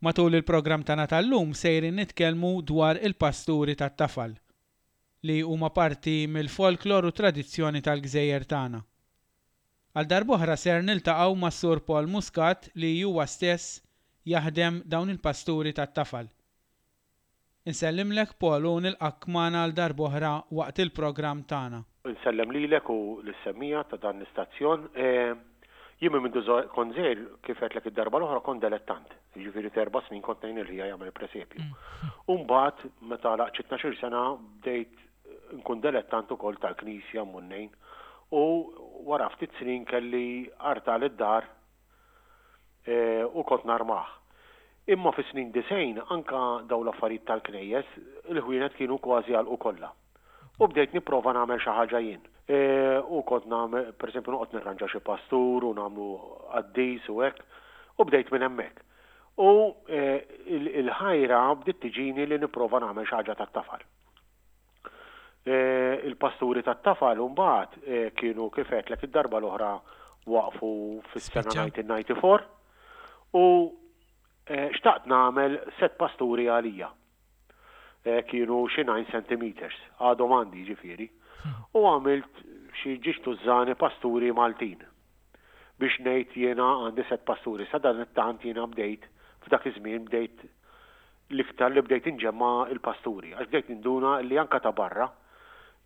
Matul il-programm tagħna tal-lum sejrin nitkellmu dwar il-pasturi tat-tafal, li huma parti mill-folklor u tradizzjoni tal-gżejjer tagħna. Għal darb'oħra ser niltaqgħu mas-Sur Paul Muscat li huwa stess jaħdem dawn il-pasturi tat-tafal. Insellimlek Paul u nilqgħek magħna għal darb'oħra waqt il-programm tagħna. Insellem lilek u lis-semmiegħa ta' dan l-istazzjon. Jien minn mindu kont żgħir, kif għedtlek id-darba l-oħra, kont delettant. Jiġifieri t'erba' snin kont ngħin lil ħija jagħmel il-presepju. U mbagħad meta għalaqt xi tnax-il sena bdejt nkun delettant ukoll tal-knisja mmur ngħin. U wara ftit snin kelli artal id-dar u kont narmah. Imma fis-snin 90 anka dawn l-affarijiet tal-knejjes, il-ħwienet kienu kważi għalqu kollha. U bdejt nipprova nagħmel xi ħaġa jien. U kont nagħmel, pereżempju noqgħod nirranġa xi pastur u nagħmlu qaddis u hekk, u bdejt minn hemmhekk. U l-ħajra bdiet tiġini li nipprova nagħmel xi ħaġa tat-tafal. Il-pasturi tat-tafal imbagħad kienu kif għedtlek id-darba l-oħra waqfu fis-sena 1994 u xtaqt nagħmel sett pasturi għalija. Kienu xi 9 centimeters, għadhom għandi jiġifieri. U għamilt xi ġiex tużżani pasturi Maltin biex ngħid jiena għandi sett pasturi. Sadanittant jiena bdejt f'dak iż-żmien bdejt L-iktar li bdejt inġemma' l-pasturi, għax bdejt ninduna li anke ta' barra,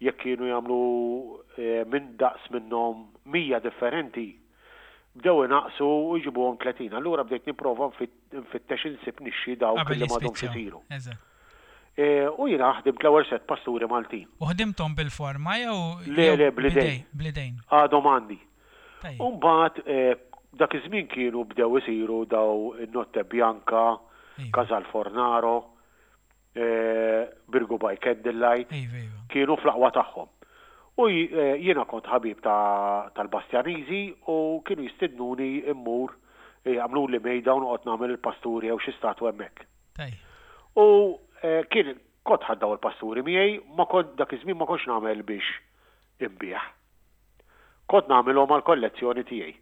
jekk kienu jagħmlu minn daqs minnhom 100 differenti, bdew inaqqsu u jġibuhom 30. Allura bdejt nipprova nfittex insib nixxi dawk Qabel li m'għadhomx jispiċċaw. isiru. Eżatt. U jiena ħdimt l-ewwel sett pasturi Maltin. U ħdimthom bil-forma jew Le, jew le, bl-idejn. b'idej, bl-idejn. Għadhom għandi. Tajjeb. U mbagħad dak iż-żmien kienu bdew isiru daw in-Notte Bianca, Iva. Casal Fornaro, Birgu by Candlelight, Iva, iva. kienu fl-aqwa tagħhom. U jiena kont ħabib tal-Bastjaniżi u kienu jistidnuni mmur jagħmluli mejda u noqgħod nagħmel il-pasturi jew xi statwa hemmhekk. Tajjeb. U kien kont ħadt daw il-pasturi miegħi, ma kont dak iż-żmien ma kontx nagħmel biex inbigħ. Kont nagħmilhom għall-kollezzjoni tiegħi.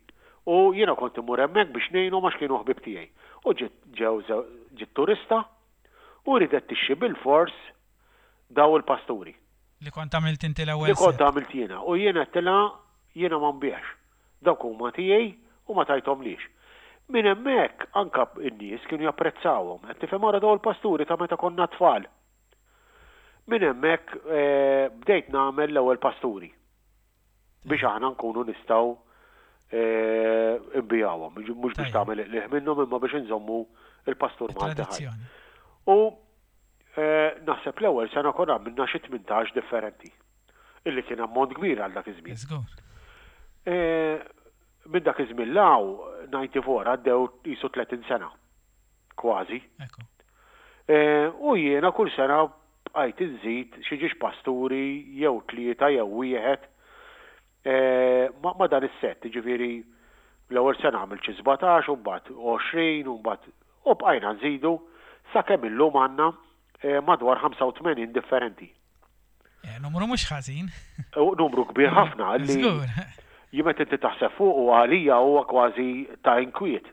U jiena kont immur hemmhekk biex ngħinhom għax kienu ħbieb tiegħi. U ġiet ġew ġiet turista u riedet tixtri bilfors daw il-pasturi. Li kont għamilt inti l-ewwel Li kont set. għamilt jiena. U jien għedtilha jiena ma nbigħx. Dawk huma tiegħi u ma tajthomlix. Minn hemmhekk anke n-nies kienu japprezzawhom. Qed tifhem ara daw il-pasturi ta' meta konna tfal. Minn hemmhekk bdejt nagħmel l-ewwel pasturi biex aħna nkunu nistgħu nbigħuhom, mhux biex tagħmel il-qligħ minnhom imma biex inżommu l-pastur Malti ħaj. U naħseb l-ewwel sena konna għamilna xi 18 differenti, illi kien ammont kbir għal dak iż-żmien. Minn dak iż-żmien 'l hawn, 94 għaddew qisu 30 sena. Kważi. U jiena kull sena bqajt inżid xi ġiex pasturi jew tlieta jew wieħed ma' dan is-sett, jiġifieri l-ewwel sena għamilt xi 17 u mbagħad 20 u mbagħad u bqajna nżidu sakemm illum għandna madwar 85 differenti. Eh, numru mhux ħażin. Numru kbir ħafna li jien meta inti taħseb fuqu għalija huwa kważi ta' inkwiet.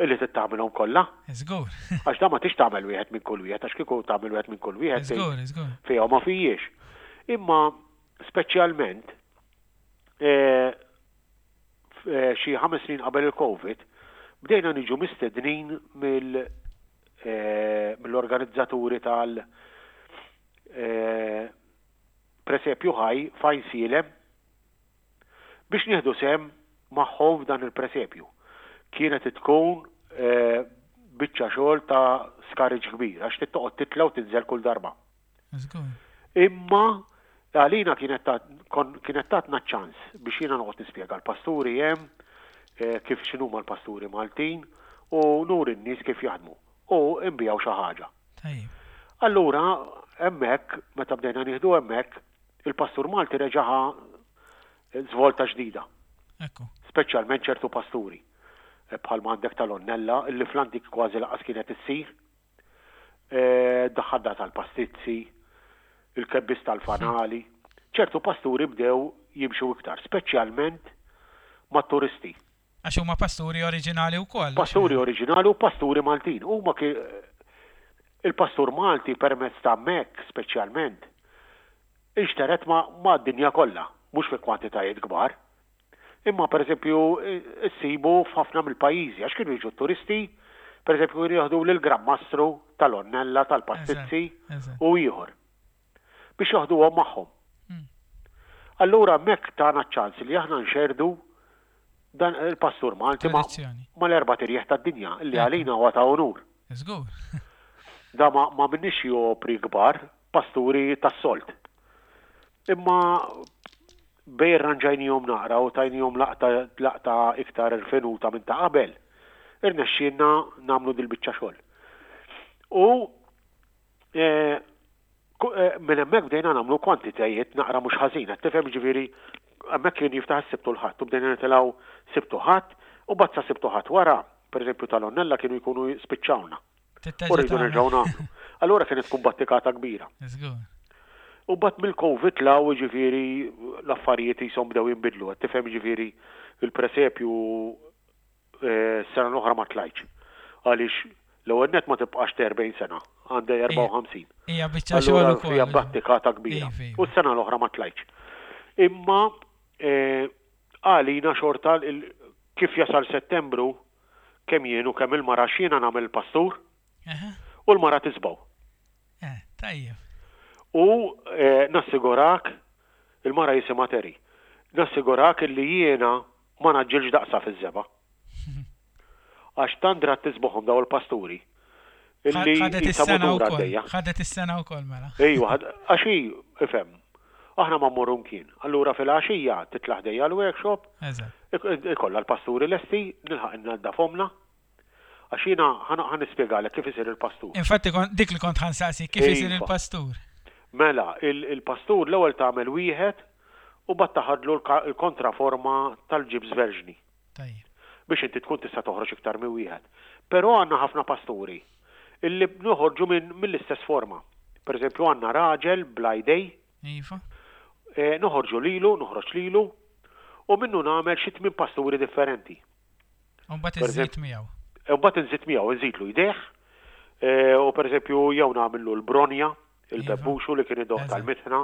Illi trid tagħmilhom kollha. Żgur. Għax dan ma tix tagħmel wieħed minn kull wieħed, għax kieku tagħmel wieħed minn kull wieħed. Żgur, żgur. Fiha ma fijiex. Imma speċjalment eh, eh, xi ħames snin qabel il-Covid, bdejna niġu mistednin mill eh, mill-organizzaturi tal presepju ħaj fajn sielem biex nieħdu sehem magħhom f'dan il-presepju. Kienet tkun biċċa xogħol ta' skariġġ kbir għax trid toqgħod titla' u tinżel kull darba. Imma għalina kienet kienet tatna ċ-ċans biex jiena noqgħod nispjega l-pasturi hemm, kif x'inhuma l-pasturi Maltin u nuri n-nies kif jaħdmu u nbigħu xi ħaġa. Allura hemmhekk meta bdejna nieħdu hemmhekk Il-pastur Malti reġa' ħa żvolta ġdida. Ekku. Speċjalment ċertu pasturi, bħalma għandek tal-Onnella, illi fl-antik kważi lanqas kienet issir. Daħħalna tal-pastizzi, il-kebbies tal-fanali. Ċertu pasturi bdew jimxu iktar, speċjalment mat-turisti. Għax huma pasturi oriġinali wkoll. Pasturi oriġinali u pasturi Maltin. Huma il-pastur Malti permezz ta' Mek speċjalment inxteret ma' dinja kollha, mhux fi kwantitajiet kbar. Imma pereżempju issibu f'ħafna mill-pajjiżi għax kienu jiġu t-turisti, pereżempju kienu jieħdu lill-Gran Mastru tal-Onnella, tal-Pastizzi u ieħor biex joħduhom magħhom. Allura hemmhekk tana ċ-ċans li aħna nxerrdu dan il-pastur Malti mal-erbat irjieħ tad-dinja li għalina huwa ta' unur. Żgur. Da ma m'għamilniex xi opri kbar, pasturi tas-sold. Imma bejn irranġajnihom naqra u tajnihom laqta laqta iktar irfinuta minn ta' qabel, irnexxielna nagħmlu dil-biċċa xogħol. U eh, eh, minn hemmhekk bdejna nagħmlu kwantitajiet naqra mhux ħażin, qed tifhem ġifieri hemmhekk kien jiftaħ is-Sibt u l-Ħadd u bdejna nitilgħu Sibt u Ħadd u mbagħad sa Sibt u Ħadd wara, pereżempju tal-Onnella kienu jkunu spiċċawna. U rridu nerġgħu nagħmlu. Allura kienet tkun battikata kbira. U bat mill-Covid law ġifieri l-affarijiet jisom bdew jinbidlu, qed tifhem ġifieri il-presepju eh, sena l-oħra ma tlajtx. Għaliex l-ewwel net ma tibqax 40 sena, għandha 54. Hija biċċa xogħol ukoll. Hija battikata kbira. Iva, iva. U s-sena l-oħra ma tlajtx. Imma eh, għalina xorta kif jasal Settembru Kemm jien u kemm il-mara għax jiena nagħmel il-pastur u l-mara tisbgħu. Eh, tajjeb. U eh, nassigurak, il-mara jisimha Terry, nassigurak illi jiena ma naġġilx daqsa fiż-żebgħa. Għax tant drat tisbuħhom daw il-pasturi. Illi ħadet is-sena wkoll. Ħadet is-sena wkoll mela. Ejwa, għax hi, ifhem, aħna ma mmorru mkien. Allura fil-għaxija titla' ħdejja l-workshop, ikollha l-pasturi lesti, nilħaq innaddafhomlha. Għax jiena ħa nispjegalek kif isir il-pastur. Infatti dik li kont ħa nsaqsik, kif isir il-pastur? Mela, il-pastur l-ewwel tagħmel wieħed u mbagħad taħadlu l-kontraforma tal-ġibs verġni. Tajjeb. Biex inti tkun tista' toħroġ iktar minn wieħed. Però għandna ħafna pasturi illi noħorġu minn mill-istess forma. Per eżempju għandna raġel bla jdej. Iva. Eh, noħorġu lilu, noħroġ lilu, u minnu nagħmel xi tmien pasturi differenti. U mbagħad iżid miegħu. U mbagħad inżid miegħu, inżidlu jdejh, eh, u per eżempju jew nagħmillu l-bronja, iva. il-bebbuxu li kien idoq tal-mitħna,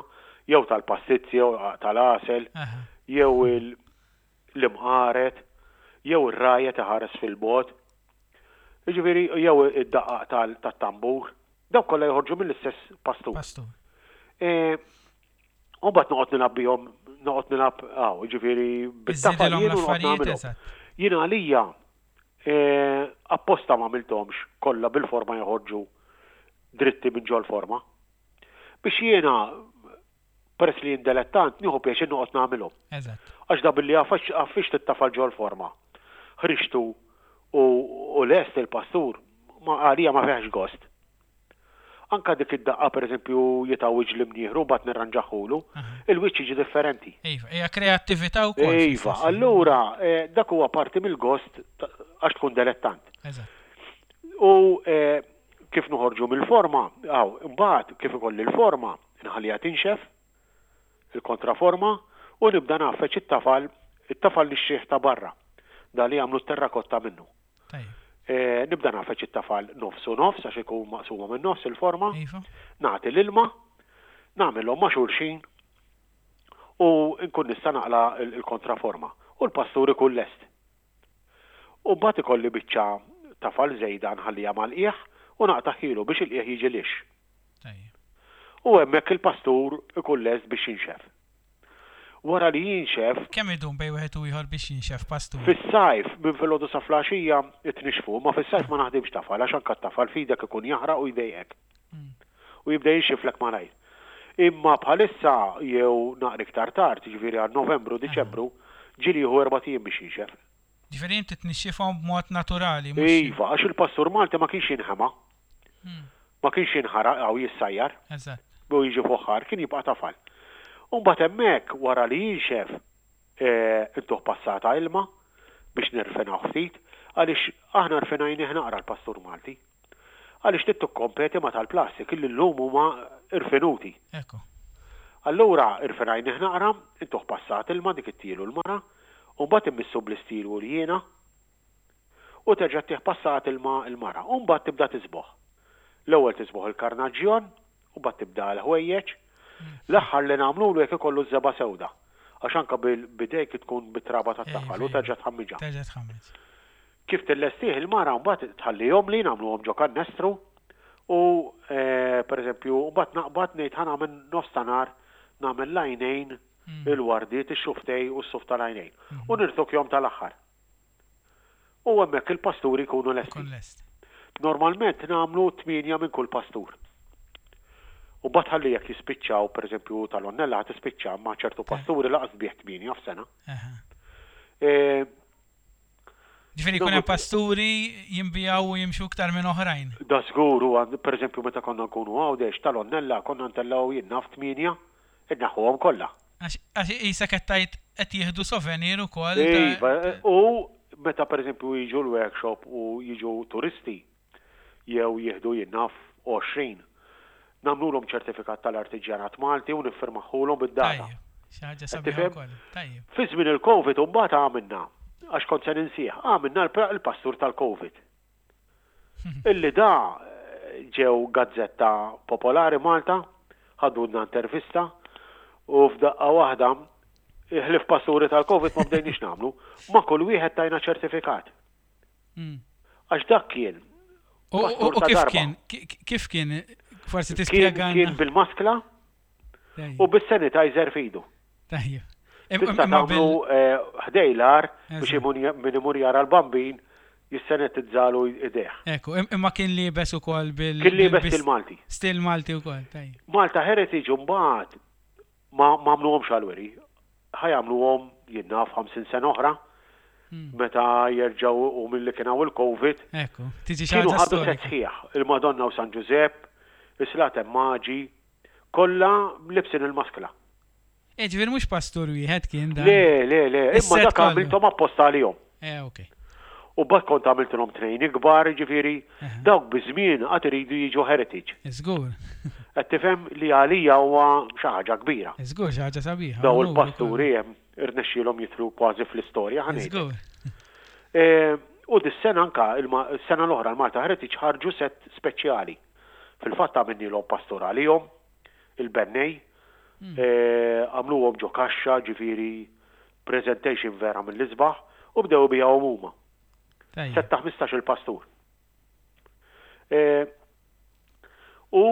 jew tal-pastizzi, jew tal-għasel, jew il- l-imqaret, jew ir-rgħajja tiħares fil-bogħod, jiġifieri jew id-daqqaq tat-tambur, dawk kollha joħorġu mill-istess pastur. Pastur. E, u mbagħad noqgħod nilgħab bihom, noqgħod nilgħab hawn, jiġifieri bit-tafal jien u noqgħod nagħmilhom. Jien għalija e, apposta ma għamilthomx kollha bil-forma joħorġu dritti minn ġol-forma. Biex jiena Peress li jien delettant, nieħu pjaċir noqgħod nagħmilhom. Eżatt. Għax da billi għaffixt it-tafal ġol-forma, ħriġtu u u lest il-pastur, ma għalija ma fihx gost. Anka dik id-daqqa pereżempju jitgħawwiġ l-imnieħru mbagħad nirranġahulu, il-wiċċ jiġi differenti. Iva, hija kreattività wkoll. Iva, allura dak huwa parti mill-gost għax tkun delettant. Eżatt. U kif noħorġu mill-forma, hawn, imbagħad kif ikolli l-forma, Inħalliha tinxef, il-kontraforma, u nibda ngħaffeġ it-tafal, it-tafal nixtrih ta' barra, dan li jagħmlu t-terrakotta minnu. Tajjeb. Nibda ngħaffeġ it-tafal nofs u nofs għax ikun maqsuma minn nofs il-forma. Iva. Nagħti l-ilma, nagħmilhom ma' xulxin u nkun nista' naqla' l-kontraforma. U l-pastur ikun lest. U mbagħad ikolli biċċa tafal żejda nħalliha mal-qiegħ u naqtagħhielu biex il-qiegħ jiġi lixx. Tajjeb. U hemmhekk il-pastur ikun lest biex jinxef. Wara li jinxef. Kemm idum bejn wieħed u ieħor biex jinxef pastur? Fis-sajf, minn filgħodu sa fl-għaxija tnixxfu, imma fis-sajf ma naħdimx tafal għax anke t-tafal f'idek ikun jaħraq u jdejqek. U jibda jinxiflek malajr. Imma bħalissa jew naqra iktar tard, jiġifieri għal Novembru, Diċembru, ġieli jieħu erbat ijiem biex jinxef. Ġifieri inti tnixxifhom b'mod naturali mhux. Iva, għax il-pastur Malti ma kienx jinħema. Ma kienx jinħaraq jew jissajjar. Eżatt. U jiġi fuħħar, kien jibqa' tafal. U mbagħad hemmhekk wara li jinxef, intuh passata ilma biex nirfinawh ftit, għaliex aħna rfinajnih naqra l-pastur Malti. Għaliex trid tikkompeti ma' tal-plastik illi llum huma rfinuti. Ekku. Allura rfinajnih naqra, intuh passat ilma dik ittielu l-mara, u mbagħad immissu bl-istil u l-jiena. U terġa' ttih passat ilma l-mara. U mbagħad tibda tiżbogħ. L-ewwel tiżbogħ il-karnaġġjon, u mbagħad tibda l-ħwejjeġ. L-aħħar li nagħmlulu jekk ikollu ż-żebgħa sewda. Għax anke b'idejk tkun bit-traba tat-tafal u terġa' tħammiġha. Terġa' tħammiġ. Kif tillestih il-mara mbagħad tħallihomli nagħmluhom ġo kannestru u pereżempju mbagħad naqbad ngħid ħa nagħmel nofs ta' nhar nagħmel l-għajnejn, il-wardiet, ix-xufftej u s-suf tal-għajnejn. U nirtokjhom tal-aħħar. U hemmhekk il-pasturi jkunu lesti. Normalment nagħmlu tmienja minn kull pastur. U mbagħad ħalli jekk jispiċċaw, pereżempju tal-Onnella ħa tispiċċa, imma ċertu pasturi lanqas tbigħ tmienja f'sena. Ġifieri jkun hemm pasturi jinbiegħu u jimxu iktar minn oħrajn. Da żgur, u pereżempju meta konna nkunu Għawdex, tal-Onnella konna ntellgħu jien naf tmienja, inneħħuhom kollha. Għax qisek qed tgħid qed jieħdu souvenir ukoll. Iva, u meta pereżempju jiġu l-workshop u jiġu turisti jew jieħdu jien naf 20, nagħmlulhom ċertifikat tal-artiġjanat Malti u niffirmahulhom bid-data. Tajjeb, xi ħaġa sabiħa wkoll. Tajjeb. Fi żmien il-Covid imbagħad għamilna, għax kont se ninsih, għamilna l-pastur tal-Covid. Illi da ġew gazzetta popolari Malta, ħadulna intervista u f'daqqa waħda ħlief pasturi tal-Covid ma bdejniex nagħmlu, ma' kull wieħed tajna ċertifikat. Għax dak kien. U kif kien? Kif kien? Forsi tispjega. Kien bil-maskla u bis-sanitizer f'idu. Tajjeb. Tista' tagħmlu eh, ħdej l-ar biex min imur jara l-bambin jissanitizzalu idejh. Ekku, imma kien liebes ukoll bil. Kien liebes stil Malti. Stil Malti wkoll, tajjeb. Malta Heritage mbagħad Ma għamluhomx għall-wiri. Ħa jagħmluhom, jien naf, 50 sena oħra, meta jerġgħu u milli kien hawn il-Covid. Ekku, tiġi xi ħaġa Kienu ħadu sett sħiħ, il-Madonna u San Ġużepp, is-Slaten Maġi, kollha libsin il-maskla. Eh, ġifieri mhux pastur wieħed kien dan. Le, le, le, imma dak għamilthom apposta għalihom. Eh, ok. U mbagħad kont għamiltilhom tnejn ikbar, jiġifieri dawk biż-żmien għad iridu jiġu heritage. Żgur. Qed tifhem li għalija huwa xi ħaġa kbira. Żgur xi ħaġa sabiħa. Daw il-pasturi hemm irnexxielhom jidħlu kważi fl-istorja ħa ngħidlek. Żgur. U dis-sena anka, is-sena l-oħra l-Malta Heritage ħarġu sett speċjali. Fil-fatt għamilnielhom pastur għalihom, il-bennej, għamluhom ġo kaxxa, ġifieri Presentation vera mill-isbaħ u bdew ibigħuhom huma. Sett ta' 15-il pastur. U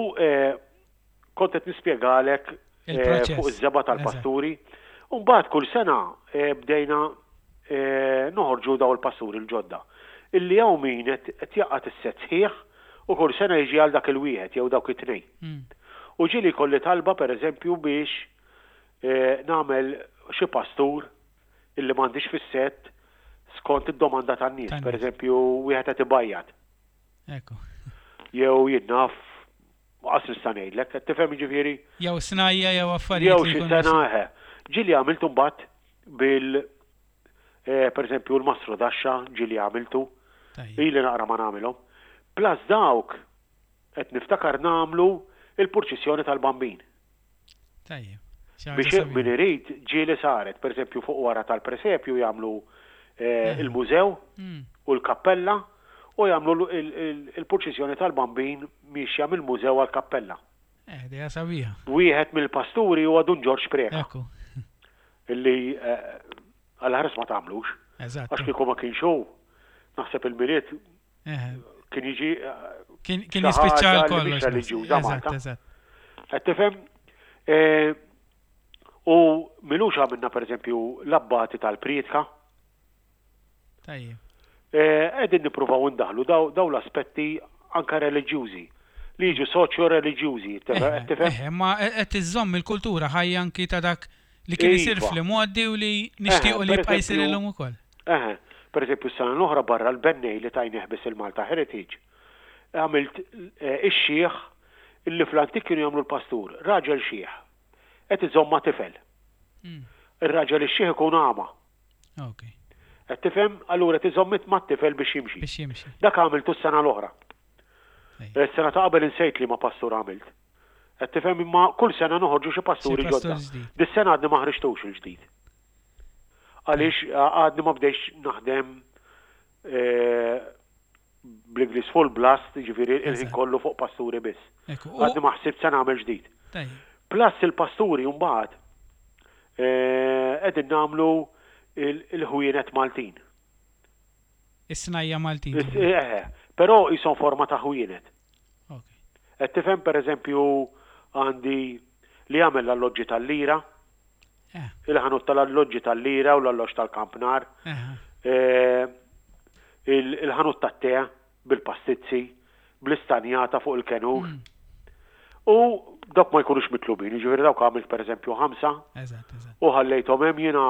kont qed nispjegalek fuq iż-żebgħa tal-pasturi. U mbagħad kull sena bdejna noħorġu daw il-pasturi l-ġodda. Illi hawn min qed jaqgħad is-sett sħiħ u kull sena jiġi għal dak il-wieħed jew dawk it-tnejn. U ġieli jkolli talba pereżempju biex nagħmel xi pastur illi m'għandix fis-sett skont id-domanda tan-nies. Per eżempju, wieħed qed ibajjad. Ekku. Jew jien naf qas nista' ngħidlek, qed tifhem jiġifieri? Jew snajja jew affarijiet. Jew xi sena eħe. Ġieli għamiltu mbagħad bil eh, per eżempju l-mastru daxxa ġieli għamiltu. Ili naqra ma nagħmilhom. Plus dawk qed niftakar nagħmlu il-purċissjoni tal-bambin. Tajjeb. Biex min irid ġieli saret, per eżempju fuq wara tal-presepju jagħmlu eh, eh. il-mużew mm. u l-kappella u jagħmlu il-purċissjoni tal-bambin miexja mill-mużew għall-kappella. Eh, dejja sabiħa. Wieħed mill-pasturi huwa Dun Ġorġ Preca. Ekku. Illi għal ħares ma tagħmlux. Eżatt. Għax kieku ma kienx hu, naħseb il-miliet Kien jiġi. Kien jispiċċa kollox. Reliġjuża Malta. Qed tifhem? U milux għamilna pereżempju l-abbati tal-prietka. Tajjeb. Qegħdin nippruvaw indaħlu daw l-aspetti anka reliġjużi li jiġu soċjo-reliġjużi, qed tifhem? Ma qed iżżomm il-kultura ħajja anki ta' dak li kien isir iva. fl-imgħoddi u li nixtiequ li jibqa' jsir illum ukoll. Eħe, pereżempju s-sena l-oħra barra l-bennej li tajnieh biss il-Malta Heritage, għamilt ix-xiħ illi fl-antik kienu jagħmlu l-pastur, raġel xiħ, qed iżomm ma' tifel. Ir-raġel ix-xiħ ikun għama. Qed tifhem? Allura qed iżomm mat-tifel biex jimxi. Biex jimxi. Dak għamiltu s-sena l-oħra. Is-sena ta' qabel insejt liema pastur għamilt. Qed tifhem imma kull sena noħorġu xi pasturi ġodda. Dis-sena għadni ma ħriġtux il-ġdid. Għaliex għadni ma bdejx naħdem Bl-Ingliż full blast, jiġifieri il-ħin kollu fuq pasturi biss. Għadni ma ħsibt se nagħmel ġdid. Plus il-pasturi mbagħad qegħdin nagħmlu il-ħwienet Maltin. Is-snajja Maltin. Eħe, però qishom forma ta' ħwienet. Qed tifhem pereżempju għandi li jagħmel l-alloġġi tal-lira. Il-ħanut tal-alloġġi tal-lira u l-alloġġ tal-kampnar. Il-ħanut tat-te bil-pastizzi, bl-istanjata fuq il-kenur. U dawk ma jkunux mitlubin, jiġifieri dawk għamilt pereżempju ħamsa u ħallejthom hemm jiena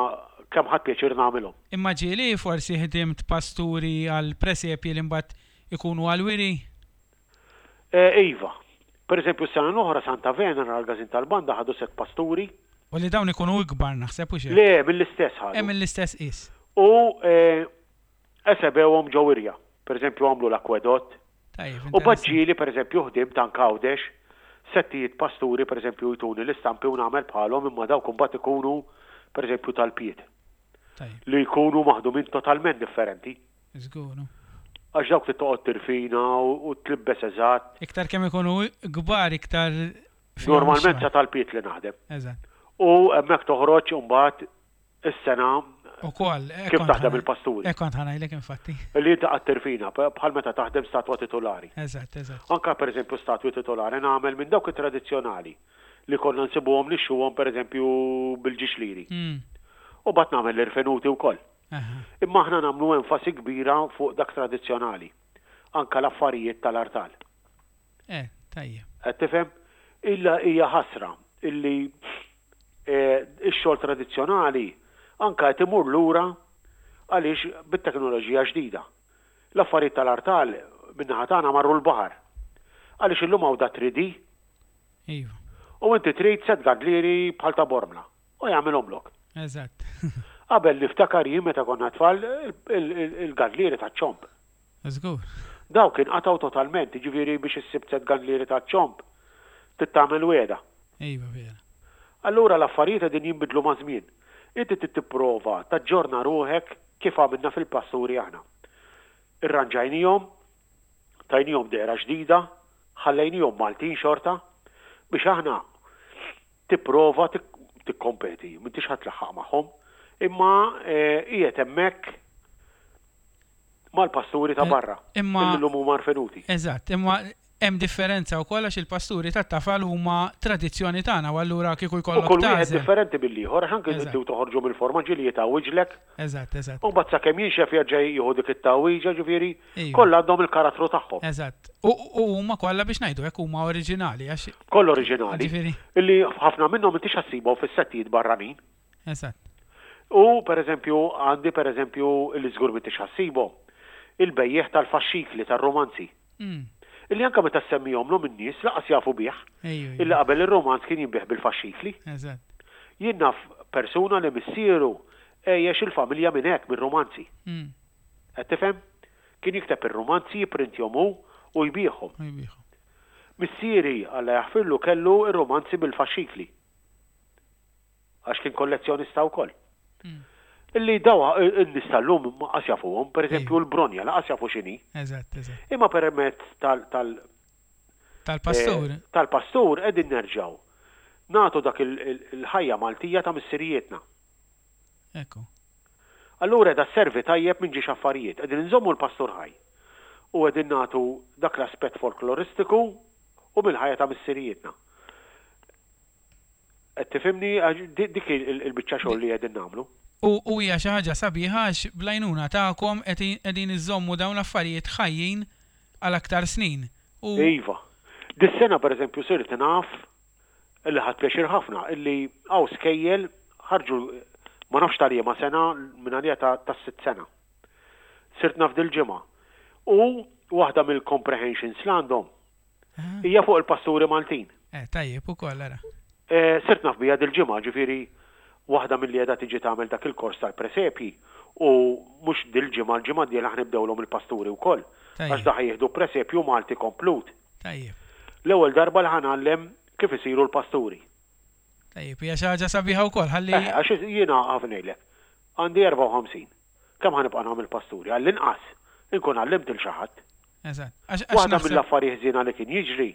kemm ħadt pjaċir nagħmilhom. Imma ġieli forsi ħdimt pasturi għal presepji li mbagħad ikunu għall-wiri? Iva. Per eżempju s-sena l-oħra Santa Venera l-Każin tal-Banda ħadu sett pasturi. U li dawn ikunu ikbar naħseb hux hekk? Le, mill-istess ħadu. Eh mill-istess qies. U esebewhom ġo wirja. Per eżempju għamlu l-akwedott. Tajjeb, U mbagħad ġieli per eżempju ħdimt anke Għawdex, settijiet pasturi per eżempju jtuni l-istampi u nagħmel bħalhom imma dawk imbagħad ikunu per eżempju tal-pied. Tajjeb. Li jkunu maħdumin totalment differenti. Żgur. Għax dawk trid toqgħod tirfina u tlibbes eżatt. Iktar kemm ikunu kbar iktar fihom Normalment sa tal-piet li naħdem. Eżatt. U hemmhekk toħroġ imbagħad is-sena Ukoll, kif taħdem il-pasturi. Hekk kont ħa ngħidlek infatti. Li inti qgħadt tirfina bħal meta taħdem statwa titulari. Eżatt, eżatt. Anke pereżempju statwi titulari nagħmel minn dawk it-tradizzjonali li konna nsibuhom nixxuhom pereżempju bil-ġiex liri. U mbagħad nagħmel l-irfenuti wkoll. Imma aħna nagħmlu enfasi kbira fuq dak tradizzjonali, anke l-affarijiet tal-artal. Eh, tajjeb. Qed tifhem? Illa hija ħasra illi x-xogħol tradizzjonali anke qed imur lura għaliex bit-teknoloġija ġdida. L-affarijiet tal-artal min-naħa tagħna marru l-baħar. Għaliex illum hawn da 3D. Iva. U inti trid sett gandlieri bħal ta' Bormla. U jagħmilhomlok. Eżatt. Qabel niftakar jien meta konna tfal il-gandlieri taċ-ċomb. Żgur. Dawk inqatgħu totalment, jiġifieri biex issib sett gandlieri taċ-ċomb trid tagħmel wegħda. Iva vera. Allura l-affarijiet qegħdin jinbidlu maż-żmien. Inti trid tipprova taġġorna ruħek kif għamilna fil-pasturi aħna. Irranġajnihom, tajnihom dehra ġdida, ħallejnihom Maltin xorta biex aħna tipprova tikkompeti, m'intix ħa tlaħħaq magħhom, imma qiegħed hemmhekk mal-pasturi ta' barra, Imma illi llum huma rfenuti. Eżatt, imma hemm differenza wkoll għax il-pasturi tat-tafal huma tradizzjoni tagħna u allura kieku U jkollok kull wieħed tagħżel. differenti mill-ieħor għax anke Eżatt. inti u toħorġu mill-forma ġieli jitgħawwiġlek. Eżatt, eżatt. U mbagħad sakemm jinxef jerġa' jieħu dik it-tgħawwiġa, ġifieri Iva. kollha għandhom il-karattru tagħhom. Eżatt. U u huma kollha biex ngħidu hekk huma oriġinali għax. Kollha oriġinali. Ġifieri. Illi ħafna minnhom intix ħa ssibhom fis-settijiet barranin. Eżatt. U pereżempju għandi pereżempju illi żgur m'intix ħa ssibhom, il-bejjiegħ tal-faxxikli tar-rumanzi. Illi anke meta ssemmihomlhom in-nies lanqas jafu bih. Ejju, Illi qabel ir-rumanz kien jinbiegħ bil-faxxikli. Eżatt. Jien naf persuna li missieru għejjex il-familja minn hekk, mir-rumanzi. Qed tifhem? Kien jikteb ir-rumanzi, jipprintjhom hu u jbigħhom. U jbigħhom. Missieri, Alla jaħfirlu, kellu r-rumanzi bil-faxxikli. Għax kien kollezzjonista wkoll. Illi daw in-nies tal-lum ma qas jafuhom, pereżempju l-bronja laqas jafu x'inhi. Eżatt, eżatt. Imma permezz tal tal Tal-pastur. Tal-pastur qegħdin nerġgħu nagħtu dak il-ħajja Maltija ta' missirijietna. Ekku. Allura qiegħda sservi tajjeb minn ġiex affarijiet. Qegħdin inżommu l-pastur ħaj u qegħdin nagħtu dak l-aspett folkloristiku u mill-ħajja ta' missirijietna. Qed tifhimni? Dik hi l-biċċa xogħol li qegħdin nagħmlu. U hija xi ħaġa sabiħa għax bl-għajnuna tagħkom qegħdin iżżommu dawn l-affarijiet ħajjin għal aktar snin. U. Iva. Dis-sena pereżempju sirt naf Illi ħadt pjaċir ħafna illi hawn skejjel ħarġu ma nafx ta' liema sena minn għalija ta' tas-sitt sena. Sirt naf dil-ġimgħa. U waħda mill-comprehensions li għandhom hija fuq il-pasturi Maltin. Eh, tajjeb ukoll ara. Eh, sirt naf biha dil-ġimgħa, ġifieri waħda milli qiegħda tiġi tagħmel dak il-kors tal-presepji u mhux dil-ġimgħa, l-ġimgħa d-dieħla ħa nibdewlhom il-pasturi wkoll. Għax da ħa jieħdu presepju Malti komplut. Tajjeb. L-ewwel darba li ħa ngħallem kif isiru l-pasturi. Tajjeb, hija xi ħaġa sabiħa wkoll ħalli. Eħe, għax jiena ħa ngħidlek, għandi 54. Kemm ħa nibqa' nagħmel pasturi? Għall-inqas. Inkun għallimt 'il xi ħadd. Eżatt. Għax Waħda mill-affarijiet ħżiena li kien jiġri,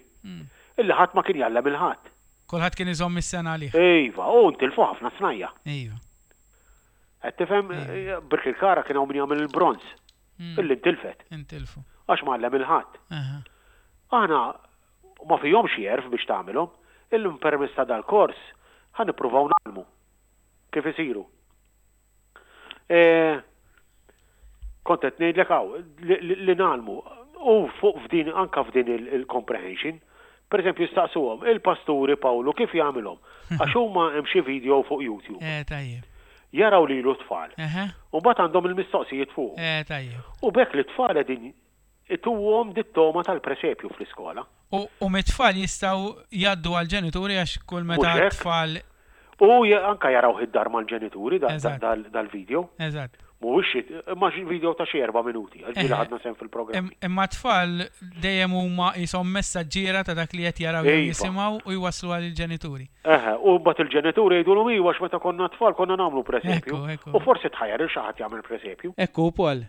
illi ħadd ma kien jgħallem 'il ħadd. Kulħadd kien iżomm is-sengħa għalih. Iva, u ntilfu ħafna snajja'. Iva. Qed tifhem? Birkirkara kien hawn min jagħmel il-bronż. Illi ntilfet. Intilfu. Għax ma għallem 'il ħadd. Aħna ma fihomx għerf biex tagħmilhom. Illum permezz ta' dal-kors ħa nippruvaw ngħallmu kif isiru. E, kont qed ngħidlek hawn li ngħallmu u fuq f'din anka f'din il-comprehension, per eżempju jistaqsuhom il-pasturi Pawlu kif jagħmilhom għax huma hemm xi video fuq YouTube. Eh, tajjeb. Jaraw lilu t-tfal. U mbagħad għandhom il-mistoqsijiet fuq. Eh, tajjeb. U b'hekk li t-tfal qegħdin ituhom dit-togħma tal-presepju fl-iskola. U mit-tfal jistgħu jgħaddu għall-ġenituri għax kull meta t-tfal. U anke jarawh id-dar mal-ġenituri dal-video. Eżatt. Mhuwiex xi, imma xi video ta' xi erba' minuti, għax ġieli ħadna sehem fil-programmi. Imma t-tfal dejjem huma qishom messaġġiera ta' dak li qed jaraw jew jisimgħu u jwassluha lill-ġenituri. Eħe, u mbagħad il-ġenituri jgħidulhom iva għax meta konna tfal konna nagħmlu presepju. U forsi tħajjar 'il xi ħadd jagħmel presepju. Hekk hu Paul.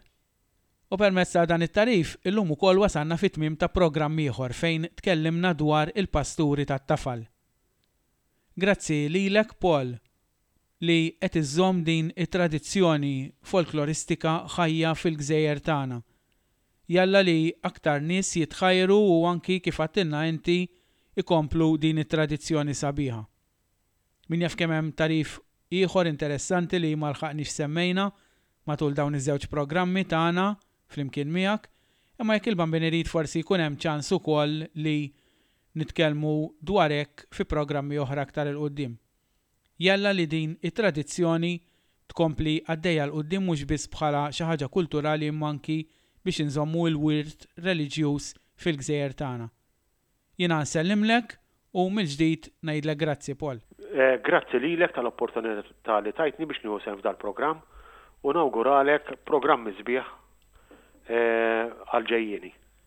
U permezz ta' dan it-tagħrif, illum ukoll wasalna fit-tmiem ta' programm ieħor fejn tkellimna dwar il-pasturi tat-tafal. Grazzi lilek Paul li qed iżżomm din it-tradizzjoni folkloristika ħajja fil-gżejjer tagħna. Jalla li aktar nies jitħajru u anki kif għadtilna inti ikomplu din it-tradizzjoni sabiħa. Min jaf kemm hemm tagħrif ieħor interessanti li ma lħaqniex semmejna matul dawn iż-żewġ programmi tagħna flimkien miegħek, imma jekk il-Bambin irid forsi jkun hemm ċans ukoll li nitkellmu dwar hekk fi programmi oħra aktar 'il quddiem. Jalla li din it-tradizzjoni tkompli għaddejja 'l quddiem mhux biss bħala xi ħaġa kulturali imma anki biex inżommu l-wirt reliġjuż fil-gżejjer tagħna. Jiena nsellimlek u mill-ġdid ngħidlek grazzi, Paul. Grazzi lilek tal-opportunità li tajtni biex nieħu sehem f'dal-programm u nawguralek programmi sbieħ għall-ġejjieni.